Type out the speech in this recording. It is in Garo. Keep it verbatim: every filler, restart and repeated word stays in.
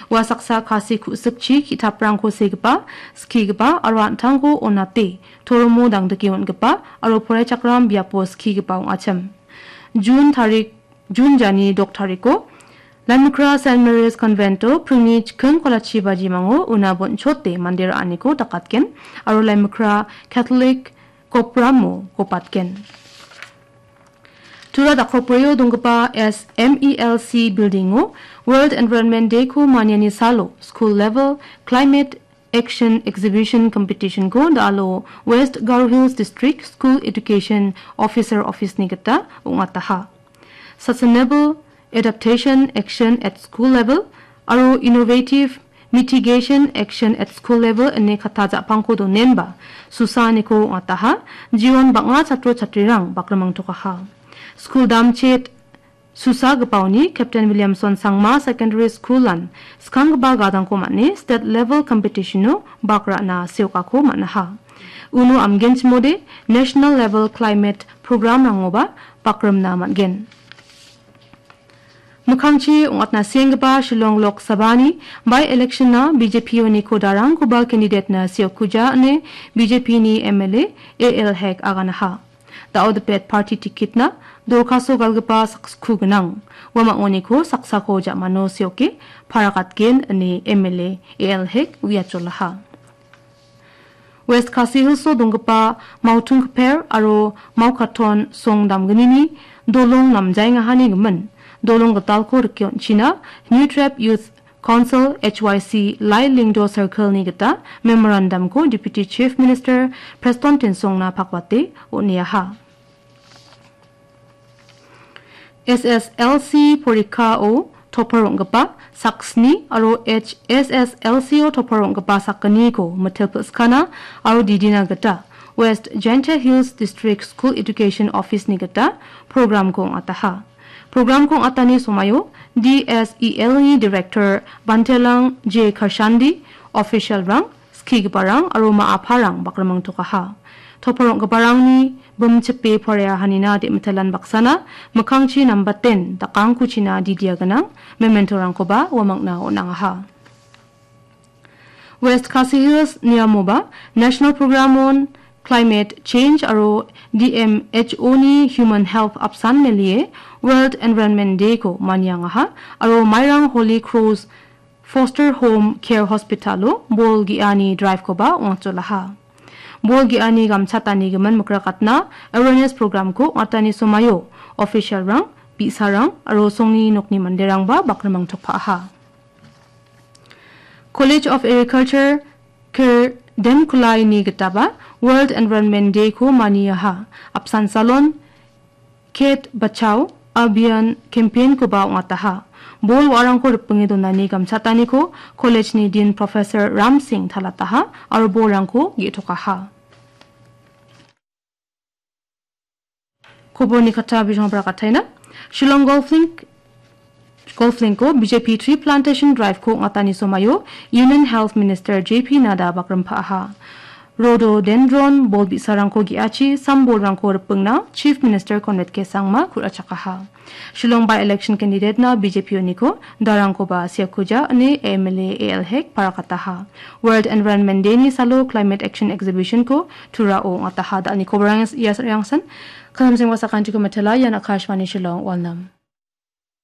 Ua saksa Khasi ku·sikchi ki·taprangko segipa, skigipa aro an·tangko onate, toromo dangdike on·gipa aro poraichakram biapo skigipa ong·achim. Jun tarik, Jun jani dok tariko Laimikra Saint Mary's Convento pringni chiking kolachi bajimango una bonchote mande ra·aniko dakatgen aro Laimikra Catholic Kopramo gopatgen. Tura dakopbrio donggipa S M E L C building-o World Environment Day-ko maniani salo School Level Climate Action Exhibition Competition-ko da·alo West Garo Hills District School Education Officer Office-ni gita ong·ataha. Sustainable Adaptation Action at School Level aro Innovative Mitigation Action at School Level ine katta ja·pangko donenba, susaaniko ong·ataha, jion bang·a chatro chatrirang bakrimangtokaha. Skul damchet susagipaoni Captain Williamson Sangma Secondary School-an skanggipa gadangko man·e state level competition-o bak ra·na seokako man·aha. Uno amgenchimode National Level Climate Program-rangoba bakrimna man·gen. Mikkangchi ong·atna sienggipa Shillong Lok Sabha-ni by-election-na B J P-oniko darangkoba candidate-na seokkuja ine B J P-ni M L A A L Hek aganaha. Da·o dipet party ticket-na dorkaso galgipa sakskku gnang. Uamang·oniko saksako ja·mano seoke parakatgen ine M L A A L Hek uiacholaha. West Khasi Hills-o donggipa Mautungkper aro Maukaton song damgnini dolong namjaengahani gimin dolong gitalko rike on·china New Tribe Youth Council H Y C Lai Lyngdoh Circle-ni gita memorandum-ko Deputy Chief Minister Prestone Tynsong-na pakwate on·eaha. S S L C porikao topar ong·gipa saksni aro H S S L C-o topar ong·gipa sakgniko mitel pil·skana aro didina gita West Jaintia Hills District School Education Office-ni gita program-ko ong·ataha. Program-ko ong·atani somaio D S E L-ni Director Bantelang J Karshandi, official-rang, skigiparang aro ma·aparang bakrimangtokaha. Topar ong·giparangni bimchipe poreahanina de·mitelan baksana mikkangchi nambaten dakangkuchina didia gnang memento-rangkoba uamangna on·angaha. West Khasi Hills niamoba National Program on Climate Change aro D M H O-ni Human Health apsan melie World Environment Day-ko maniangaha aro Mairang Holy Cross Foster Home Care Hospital-o bol ge·ani drive-koba ong·atjolaha. Bol ge·ani gamchatani gimin mikrakatna awareness program-ko ong·atani somaio official-rang, bi·sarang aro songni nokni manderangba bakrimangtokpa·aha. College of Agriculture Kir Demkulai-ni gitaba World Environment Day-ko maniaha. Apsan salon Kate Bachao Abhiyan campaign-koba ong·ataha. Bol wa·arangko ripinge donani gamchataniko college-ni Dean Professor Ram Singh talataha aro bolrangko ge·tokaha. Koborni kata bijong brakataina. Shillong Golf Link Golf Link-o B J P Tree Plantation Drive-ko ong·atani somaio Union Health Minister J P Nadda bakrimpaaha. Rhododendron bol bi·sarangko ge·achi sambolrangko ripingna Chief Minister Conrad K Sangma ku·rachakaha. Shillong by-election candidate-na B J P uniko darangkoba siakuja ine M L A A L Hek parakataha. World Environment Day-ni salo Climate Action Exhibition-ko Turao ong·ataha. Da·alni koborang ia rangsan. Kalamseng wasakanchiko matela, ian Akashvani Shillong, Walnam.